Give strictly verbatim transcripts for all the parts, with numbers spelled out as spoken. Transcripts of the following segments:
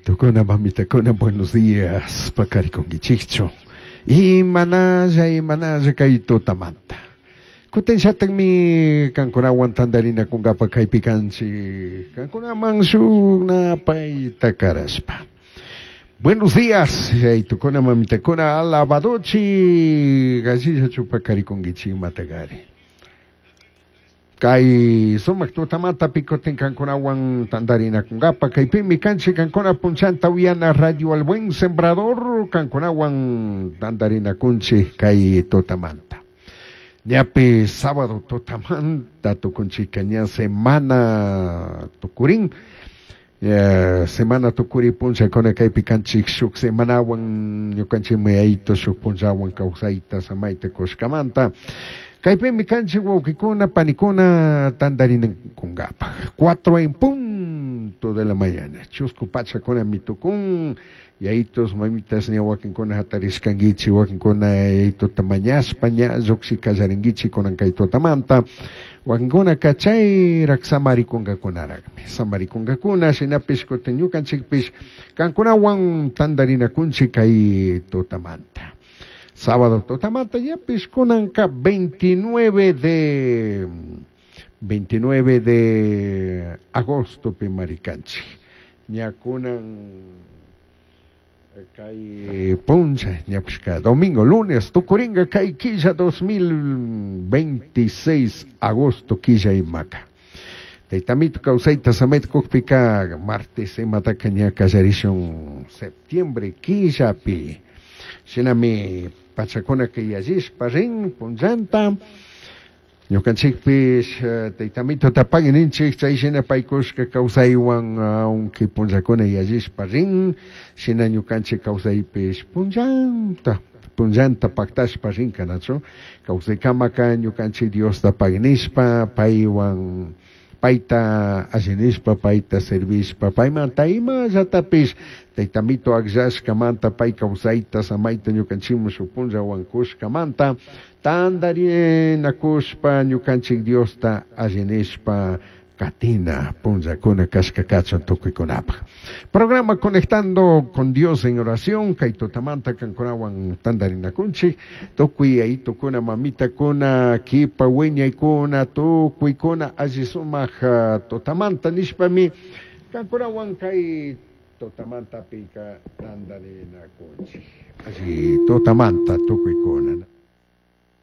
Tukuna mamitakuna, buenos días, paqarikunkichikchu. Imanalla, imanalla kay tutamanta. Kutin shataqmi kankunawan tantarinakunkapa kaypi kanchik. Kankunaman shuk napayta karashpa. Buenos días, tukuna mamitakuna, alabadochi, gallillachu paqarikunkichik imatagari. Kay sumak tutamanta kutin kankunawan tantarinakunkapa kaypimi kanchik kankuna punchanta uyana Radio El Buen Sembrador kankunawan tantarinakunchik kay tutamanta. Ñapi sábado tutamanta tukunchika ña semana tukurin. Eh, semana tukuri punchakuna kaypi kanchik shuk semanawan ñukanchikmi yayito shuk punchawan kawsayta samayta kushkamanta. Kaypimi kanchik wawqikuna panikuna tantarinakunkapaq. Cuatro en punto de la mañana. Chusku pachakuna mitukun. Yayitos, mamitas, ña wakinkuna hatarishkankichik, wakinkuna yayitota mañashpa ña lluqshi kallarinkichik kunan kay tutamanta. Wakinkunaka chayrak samarikunkakakunaraqmi. Samarikunkakuna, shinapish kutin ñukanchikpish kankunawan tantarinakunchik kay tutamanta. Sábado tutamanta ñapish kunanka veintinueve de veintinueve de agosto pimarikanchik. Ña kunan kay puncha ñapishka domingo, lunes, tukuringa kay killa dos mil veintiséis agosto killa imaka. Taytamito kawsayta samayta kukpika martes imataka ña kallarishun septiembre killapi. Shinami pachakuna kay yallishpa rin punchanta. Ñukanchikpish taytamito tapagui ninchik chay shina paykushka kawsaywan aunque punchakuna yallishpa rin, shina ñukanchik kawsaypish punchanta, punchanta paktashpa rin kanachu. Kawsaykamaka ñukanchik Diosta paginishpa, paywan payta allinishpa, payta servishpa, paymanta imallatapish taytamito akllashkamanta pay kawsayta samayta ñukanchikman shuk punllawan kushkamanta tantarinakushpa ñukanchik Diosta allinishpa katina punllakuna kashka kachun tukuykunapaq. Programa Conectando con Dios en Oración, kay tutamanta kankunawan tantarinakunchik, tukuy yayitukuna, mamitakuna, kipa wiñaykuna, tukuykuna alli sumaq tutamanta nishpami kankunawan kay tutamantapika tantarinakunchik. Alli tutamanta tukuykuna.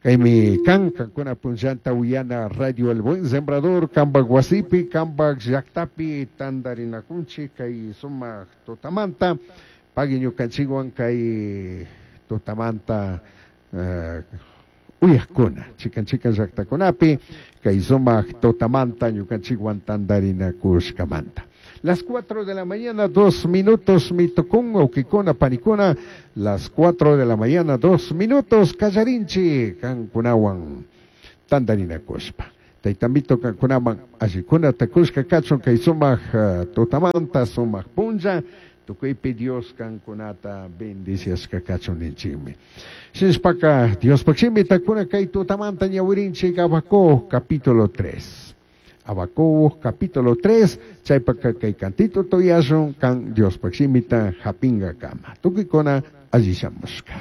Kaymi kan kankuna punchanta uyana Radio El Buen Sembrador, kambak wasipi, kambak llaqtapi tantarinakunchik kay sumaq tutamanta, pagui ñukanchikwan kay tutamanta uh, uyaqkuna, chikan chikan llaqtakunapi, kay sumaq tutamanta ñukanchikwan tantarinakushkamanta. Las cuatro de la mañana, dos minutos, mitukun, wawqikuna, panikuna, las cuatro de la mañana, dos minutos, kallarinchi, kankunawan, tantarinakushpa. Taytamito kankunaman, allikuna takushka kachun, kay sumaq uh, tutamanta, sumaq punlla, tukuypi Dios kankunata bendiciashka kachun ninchikmi. Shinashpaka, Diospaq shimi takuna kay tutamanta ñawirinchik Habacuc, capítulo tres. Habacuc, capítulo tres, chaypaka kay cantito toyashun kan Diospaq shimita hapinga kama. Tukuykuna alli shamushka.